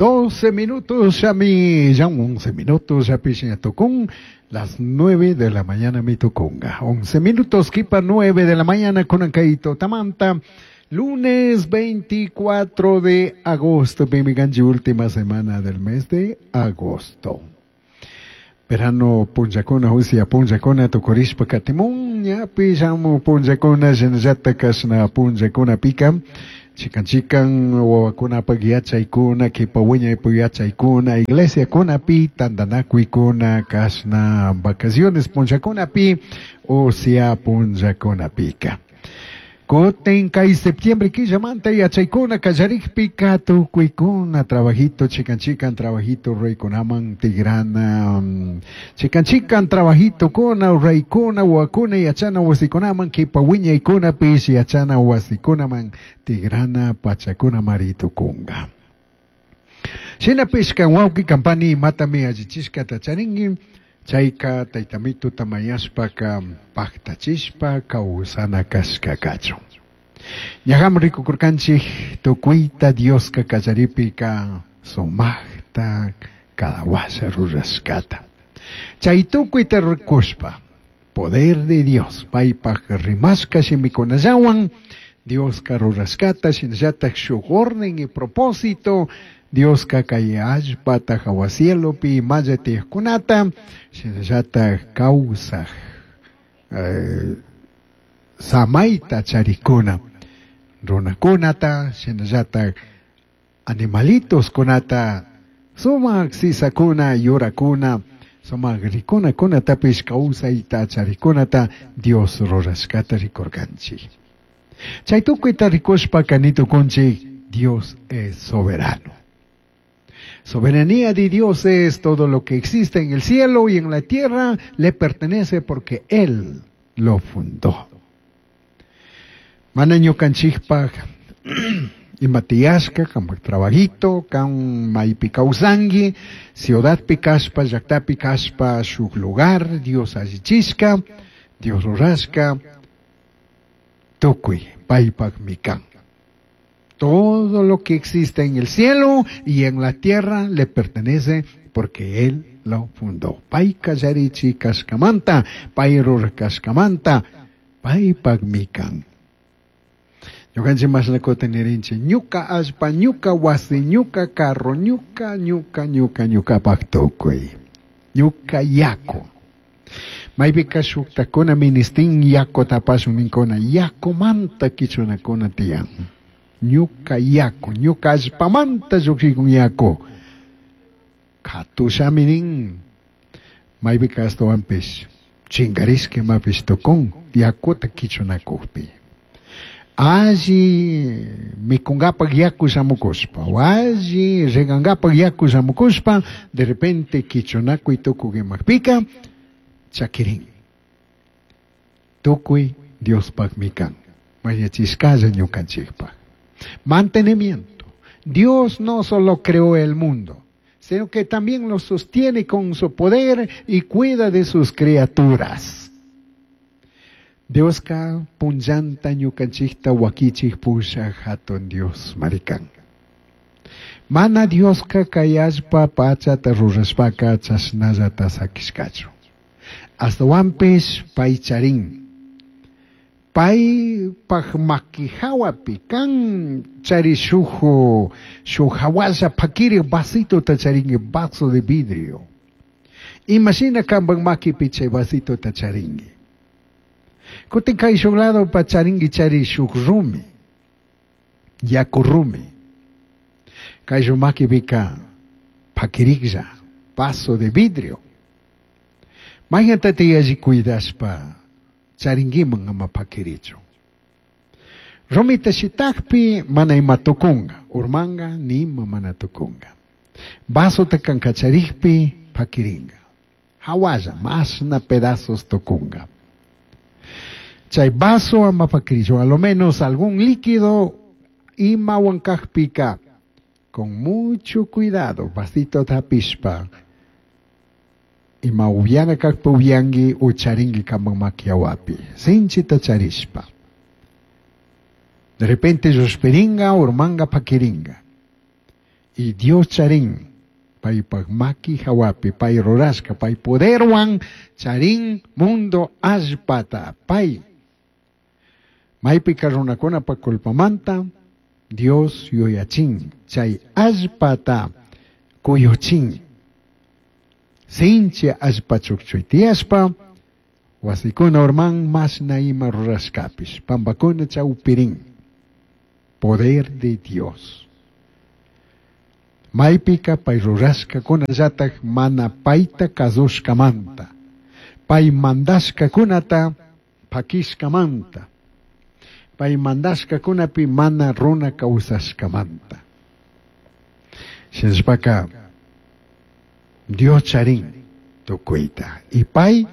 12 minutos ya mi, ya 11 minutos ya pichiña tukun, las 9 de la mañana mi tukunga. 11 minutos kipa 9 de la mañana kunan kay tutamanta. Lunes 24 de agosto, ganchi última semana del mes de agosto. Verano punllakuna, usya punllakuna tukurishpa katimun, ñapi shamu punllakuna, shinallata kashna punllakunapika, chikan chikan wawakunapak yachaykuna, kipa wiñaypak yachaykuna, iglesiakunapi, tantanakuykuna, kashna vacaciones punllakunapi, usya punllakunapika. Kutin kay septiembre killamanta yachaykuna kallarikpika tukuykuna trabajito chikan chikan trabajito ruraykunaman tigrana chikan chikan trabajito kuna ruraykuna wawakuna yachana wasikunaman kipa wiñaykunapish yachana wasikunaman tigrana pachakunamari tukunga. Shinapish kan wawqi kampani imatami allichishkata charinki chayka taytamituta mañashpaka paktachishpa kawsana kashka kachun. Ñaqam rikukurkanchik tukuyta Dioska kallaripika sumaqta cada washa rurashkata. Chay tukuyta rikushpa poder de Dios paypaq rimashka shimikunallawan Dioska rurashkata shinallatak shuk orden y propósito Dioska kay allpata hawa cielopi imalla tiyaqkunata shinallatak kawsaq samayta charikuna runakunata shinallatak animalitoskunata sumaq sisakuna yurakuna sumaq rikunakunatapish kawsayta charikunata Dios rurashkata rikurkanchik. Chay tukuyta rikushpaka nitukunchik Dios es soberano. Soberanía de Dios es todo lo que existe en el cielo y en la tierra, le pertenece porque Él lo fundó. Mana ñukanchikpaj ima tiyashka, kanpak trabajito, kan maypi kawsanki, ciudadpi kashpa, llaktapi kashpa, shuk lugar, Dios allichishka, Dios rurashka, tukuy paypakmi kan. Todo lo que existe en el cielo y en la tierra le pertenece porque Él lo fundó. Pay kallarichi kashkamanta, pay rurashkamanta, paypakmi kan. Ñukanchik mashnakota nirinchik, ñuka allpa, ñuka wasi, ñuka carro, ñuka, ñuka, ñuka, ñukapak tukuy, ñuka yaku. Maypika shuktakuna ministin yakuta apashun ninkuna, yakumanta kichunakuna tiyan. Ñuka yaku, ñuka allpamanta llukshikun yaku. Katushami nin, maypika ashtawanpish chinkarishka imapish tukun yakuta kichunakukpi. Alli mikungapak yaku shamukushpa, o alli regangapak yaku shamukushpa, de repente kichunakuy tukuk imakpika, chakirin. Tukuy Diospakmi kan, mañachishkalla ñukanchikpak. Mantenimiento. Dios no solo creó el mundo, sino que también lo sostiene con su poder y cuida de sus criaturas. Dioska punllanta ñukanchikta wakichik pushak hatun Dios marikan. Mana Dioska kay allpa pachata rurashpaka chashnallata sakishkachu. Ashtawanpish pay charin. Paypaj makihawapi kan chari shuk hawalla pakirik vasitota charinki, vaso de vidrio. Imashina kanpak makipi chay vasitota charinki. Kutin kay shuk lado pa charinki chari shuk rumi, yaku rumi. Kay shuk makipika pakiriklla, vaso de vidrio. Mayqantata yalli cuidashpa charinkiman ama pakirichu. Rumita shitakpi mana ima tukunga, urmanga nima mana tukunga. Vasota kancacharikpi pakiringa. Hawalla, masna pedazos tukunga. Chay vaso ama pakirichu, a lo menos algún líquido ima huancajpika. Con mucho cuidado, vasito tapishpa. Ima uviana kakpa uviangi ucharingi kamang makiawapi. Sinchita charishpa. De repente llushpiringa, urmanga pakiringa. Y Dios charin paypaj maki hawapi pay rurashka pay poderwan charin mundo allpata pay. Maypika runakunapa culpamanta Dios yuyachin chay allpata kuyuchin. Sinchi allpa chukchuy tiyashpa wasikuna urman mashna ima rurashkapish pampakuna chawpirin. Poder de Dios. Maypika pay rurashkakunallatak mana payta kasushkamanta. Pay mandashkakunata pakishkamanta. Pay mandashkakunapi mana runa kawsashkamanta. Shinashpaka Dios charin tukuyta. Y pay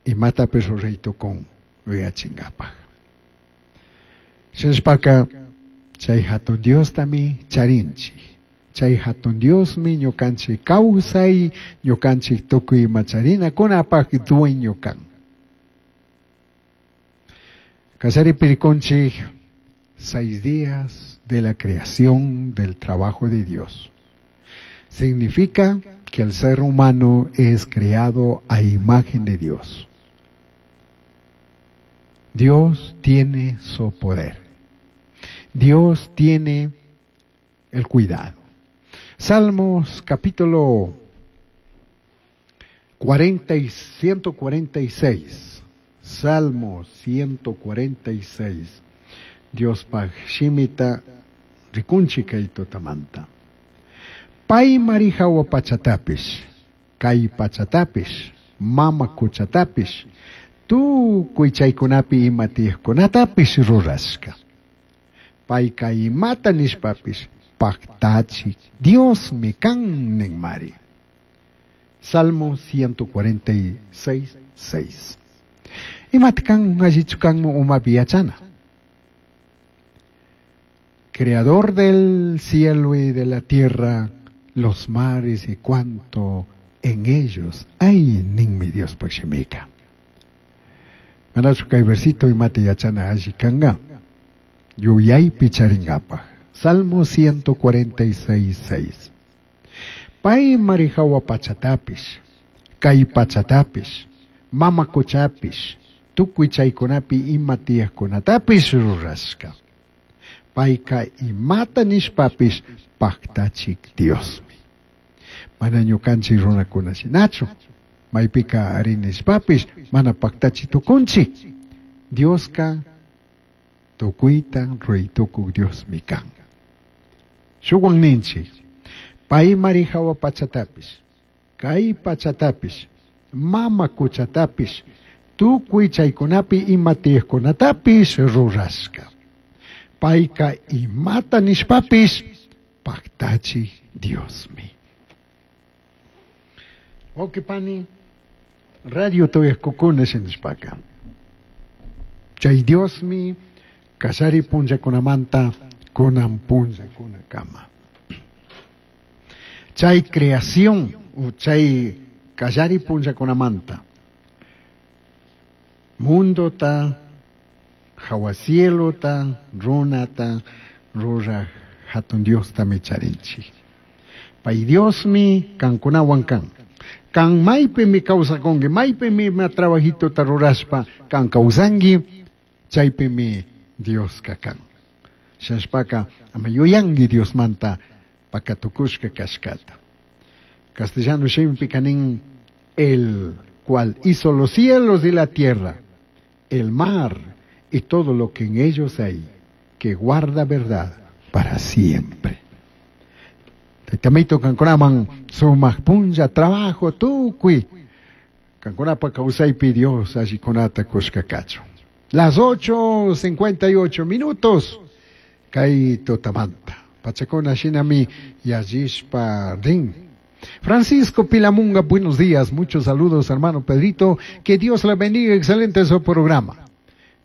imatapish ruray tukun yuyachinkapak. Shinashpaka chay hatun Diostami charinchik. Chay hatun Diosmi ñukanchik kawsay, ñukanchik tukuy ima charinakunapaq dueño kan. Kallaripi rikunchik 6 días de la creación del trabajo de Dios. Significa que el ser humano es creado a imagen de Dios. Dios tiene su poder. Dios tiene el cuidado. Salmos capítulo 146. Salmo 146. Dios paj shimita rikunchik kay tutamanta. Pay marihawa pachatapish, kay pachatapish, mama kuchatapish, tukuy chaykunapi ima tiyaqkunatapish rurashka. Payka imata nishpapish paktachik Diosmi kan ninmari. Salmo 146, 6. Imata kan allichu kanmu umapi yachana. Creador del cielo y de la tierra, los mares y cuanto en ellos hay, ninmi Dios pashimika. Manachu kay versito imata yachana alli kanga. Yuyaypi charingapaj. Salmo 146, 6. Pay marihawa pachatapish, kay pachatapish, mama kuchapish, tukuy chaykunapi ima tiyaqkunatapish rurashka. Payka imata nishpapish paktachik Diosmi. Mana ñukanchik runakuna shinachu. Maypika ari nishpapish mana paktachi tukunchik. Dioska tukuyta ruray tukuk Diosmi kan. Shuwan ninchik. Pay marihawa pachatapish, kay pachatapish, mama kuchatapish, tukuy chaykunapi ima tiyaqkunatapish rurashka. Payka imata nishpapish paktachi Diosmi. Wawqi radio tuyaqkukuna shinashpaka. Chay Diosmi kallari punllakunamanta kunan punllakunakama. Chay creación u chay kallari punllakunamanta mundota, hawa cielota, runata, ruraj hatun Diostami charinchik. Pay Diosmi kankunawan kan. Kan maypimi kawsakunki, maypimi ima trabajitota rurashpa kan kawsanki, chaypimi Dioska kan. Shinashpaka ama yuyanki Diosmanta pakatukushka kashkata. Castellano shimipika nin, el cual hizo los cielos y la tierra, el mar y todo lo que en ellos hay, que guarda verdad para siempre. Taytamito kankunaman sumaq punlla trabajo tukuy. Kankunapa kawsaypi Dios allikunata kushka kachun. Las 8:58 minutos. Kay tutamanta. Pachakuna shinami yallishpa rin. Francisco Pilamunga, buenos días. Muchos saludos, hermano Pedrito. Que Dios le bendiga. Excelente su programa.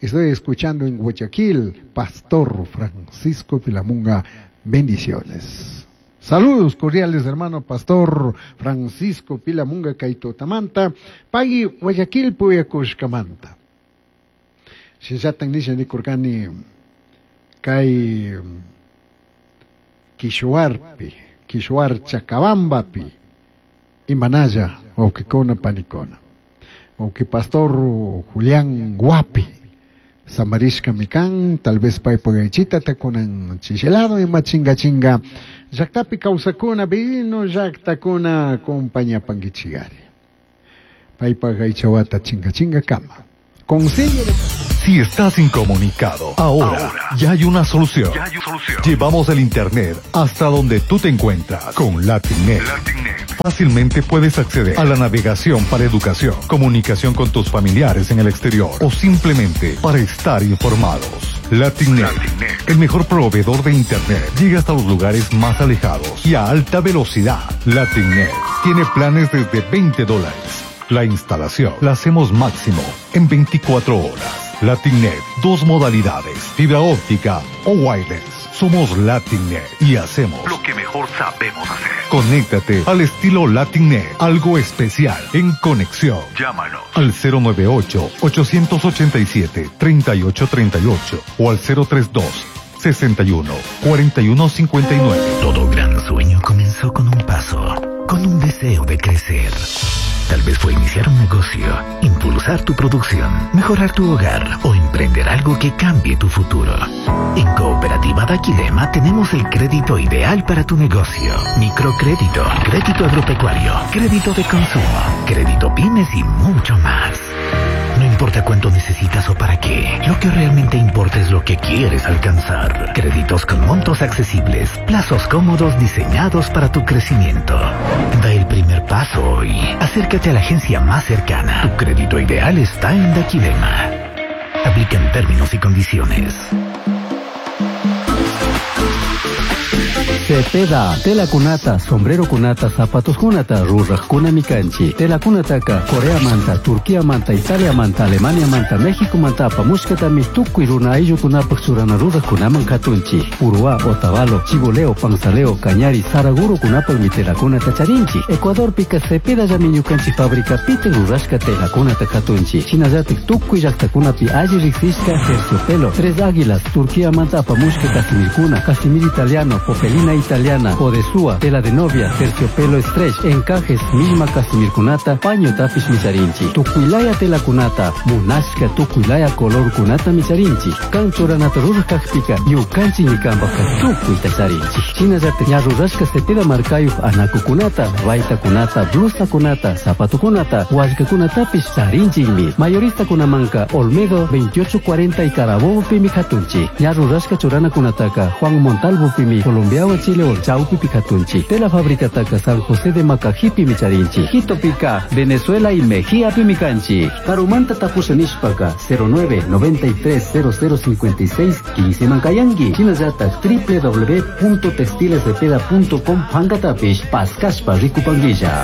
Estoy escuchando en Guayaquil, Pastor Francisco Pilamunga. Bendiciones. Saludos cordiales, hermano Pastor Francisco Pilamunga Kaitotamanta, Pagui Guayaquil Puyakushkamanta. Shinllatan nisha nikurkani kay Kishuarpi, Kishuar Chacabambapi imanalla wawqikuna panikuna. Wawqi pastor Julián Guapi samarishkami kan, tal vez paypak aychitata kunan chishilado ima chinga chinga llaktapi kawsakuna vino llaktakuna acompañapankichigari. Paypak aychawata chinga chinga kama. Consejo de Si estás incomunicado, ahora ya hay una solución. Llevamos el internet hasta donde tú te encuentras con LatinNet. Fácilmente puedes acceder a la navegación para educación, comunicación con tus familiares en el exterior o simplemente para estar informados. LatinNet, el mejor proveedor de internet, llega hasta los lugares más alejados y a alta velocidad. LatinNet tiene planes desde $20. La instalación la hacemos máximo en 24 horas. LatinNet, dos modalidades, fibra óptica o wireless. Somos LatinNet y hacemos lo que mejor sabemos hacer. Conéctate al estilo LatinNet, algo especial en conexión. Llámanos al 098 887 3838 o al 032 61 41 59. Todo gran sueño comenzó con un paso, con un deseo de crecer. Tal vez fue iniciar un negocio, impulsar tu producción, mejorar tu hogar o emprender algo que cambie tu futuro. En Cooperativa Daquilema tenemos el crédito ideal para tu negocio. Microcrédito, crédito agropecuario, crédito de consumo, crédito pymes y mucho más. No importa cuánto necesitas o para qué, lo que realmente importa es lo que quieres alcanzar. Créditos con montos accesibles, plazos cómodos diseñados para tu crecimiento. Da el primer paso hoy. Acércate a la agencia más cercana. Tu crédito ideal está en Daquilema. Aplican términos y condiciones. Cepeda, tela kunata, sombrero kunata, zapatos kunata, ruraj kunami kanchi. Tela kunataka, Corea manta, Turquía manta, Italia manta, Alemania manta, México manta, apamushkatami tukuy runa ayllukunapaj churana ruraj kunaman katunchi. Uruá, Otavalo, Chiboleo, Panzaleo, Cañari, Saraguro kunapaj tela kunata charinchi. Ecuador pika Cepeda llami ñukanchik fábrica pite rurashka tela kunata katunchi. Shinallatik tukuy llaktakunapi alli riksishka terciopelo, Tres Águilas, Turquía manta apamushka casimirkuna, casimir italiano, popelina italiana, odesúa, tela de novia, terciopelo stretch, encajes, misma casimirkunata, paño tapish micharinchi, tukuilaya tela kunata, munashka tukuilaya color kunata micharinchi, kan churanata rurajkajpika, ñukanchik ñikanpajka tukuyta charinchi. Shinallatak ña rurashka cepeda markayuj anakukunata, baytakunata, blusakunata, zapatukunata, wallkakunatapish charinchikmi. Mayoristakunamanka Olmedo 2840 y Carabobo pimi katunchi. Ña rurashka churanakunataka Juan Montalvo pimi Colombiawan Chile Chaupi pikatunchi. Tela fábrica taka San José de Macajipi micharinchi. Quito pica, Venezuela y Mejía pimicanchi. Karumanta tapusha nishpaka 09 93 00 56 15 mankayangui. Shinallata www.textilescepeda.com pankatapish paskashpa rikupanguilla.